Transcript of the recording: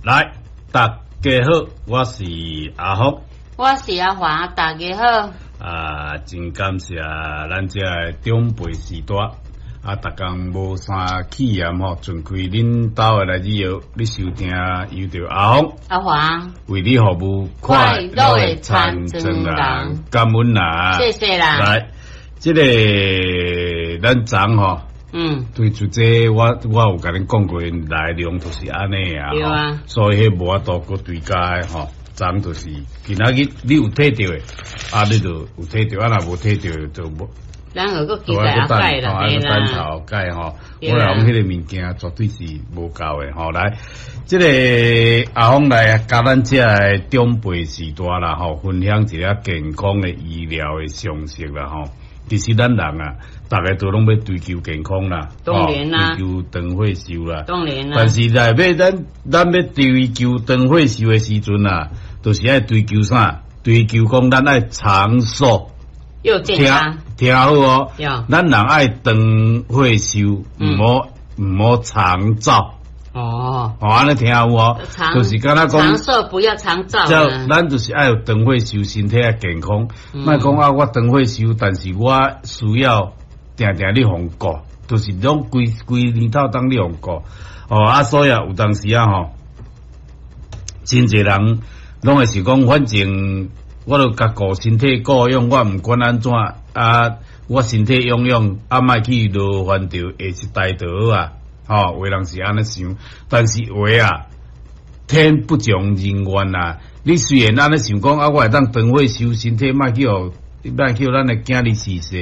來，大家好，我是阿福。我是阿華，大家好。啊，真感謝咱這个長輩序大，啊，逐工無啥氣炎吼，盡開恁兜的來自藥，你收聽由著阿福阿華為你服務，快樂的田莊人，感恩啦，謝謝啦。來，這个咱昨吼，對出這我有共恁講過內容，就是按呢啊，對啊，所以彼無法度閣追加的吼。昨就是今仔日你有提著的，啊，你就有提著，啊，若無提著就無。咱有閣期待後擺啦，對啦，等後擺吼，我來講彼个物件絕對是無夠的吼。來，這个阿峰來佮咱遮个長輩序大啦吼，分享一下健康的醫療的常識啦吼。其實咱人啊，逐个都攏欲追求健康啦，當然啦，追求長歲壽啦，當然啦。但是來欲咱咱欲追求長歲壽的時陣啊，就是愛追求啥？追求講咱愛長壽又健康。聽好哦，咱人愛長歲壽，毋好長照。哦，哦，按呢聽有無？就是敢若講長壽不要長照。咱就是愛有長歲壽，身體愛健康。莫講啊，我長歲壽，但是我需要定定咧予顧，就是攏規規年頭當咧予顧。哦，啊，所以啊，有當時啊吼，真濟人攏會是講，反正我都共顧身體顧養，我毋管按怎啊，我身體養養，啊，莫去勞煩著下一代就好啊。吼，有的人是按呢想，但是話啊，天不從人願啊！你雖然按呢想講啊，我會當長歲壽，身體莫去予，莫去予咱的囝兒逝世。